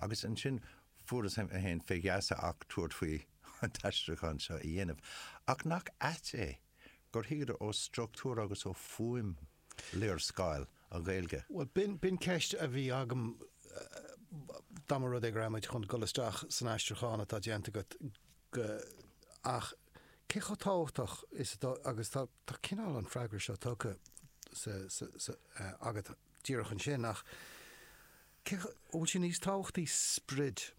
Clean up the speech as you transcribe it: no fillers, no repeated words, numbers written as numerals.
Agus ansin fuaireas mé féin fé gheasa ach tabhairt faoi an t-aistriúchán seo a dhéanamh. Ach nach ait é gur thuigeadar ó struchtúr agus ó fuaim léarscáil an Ghaeilge? Bhuel, b'in, b'in ceist a bhí agam dá mba rud é go raibh muid chun dul isteach san aistriúchán atá déanta agat go, ach cé chomh tábhachtach is atá, agus tá, tá cineál an freagra seo tugtha sa, sa, sa, agat díreach ansin, ach cé chomh, an bhfuil sé níos tábhachtaí sprid?